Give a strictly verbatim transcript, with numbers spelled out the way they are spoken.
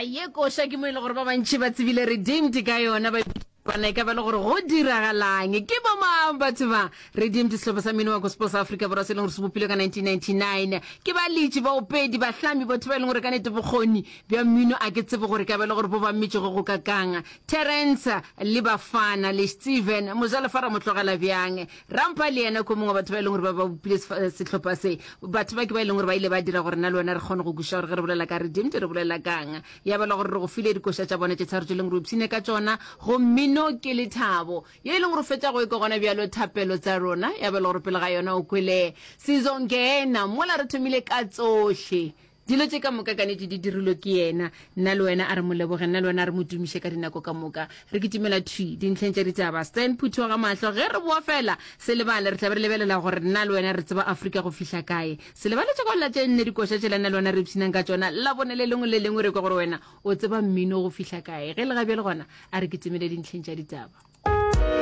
Ye koša ke mo e le gore ba bantši ba tsebile Redeemed ka yona, ba bana e ka ba le gore go diragalang. Ke bo mang batho ba Redeemed? Sehlopha sa mmino wa gospel sa Afrika Borwa se e leng gore se bopilwe ka nineteen ninety-nine ke baletši, baopedi, bahlami, batho ba e leng gore ka nete bokgoni bja mmino a ke tsebe gore ka ba le gore bo ba mmetšego go kakang. Terence le Bafana le Steven Mojalefa ra mo tlogela bjang. Rampa le yena ko mongwe wa batho ba e leng gore ba ba bopile sehlopha se. Batho ba ke ba e leng gore ba ile ba dira gore nna le wena re kgone go kwešiša gore ge re bolela ka Redeemed re bolela kang. Ya ba le gore re go file dikoša tša bona tše tharo tše e leng gore o ipshine ka tšona. Go mmino ke lethabo. Ye e leng gore o fetša go e kwa gona bjalo thapelo tsa rona. Ya ba le gore pele ga yona o kwele Sizongena mola re thomile ka tsohle. Dilo tše ka moka ka nete di dirilwe ke yena. Nna le wena a re mo leboge, nna le wena a re mo tumiše ka dinako ka moka. Re kitimela thwi dintlheng tša ditaba. Stan Phuthu wa ga Mahlo, ge re boa fela, se lebale, re tla be re lebelela gore nna le wena re tseba Afrika go fihla kae. Se lebale tša go lla tše nne dikoša tšela nna le wena re ipshinang ka tšona Labone le lengwe le lengwe, re kwe gore wena o tseba mmino go fihla kae. Ge e le ga bjale gona, a re kitimele dintlheng tša ditaba.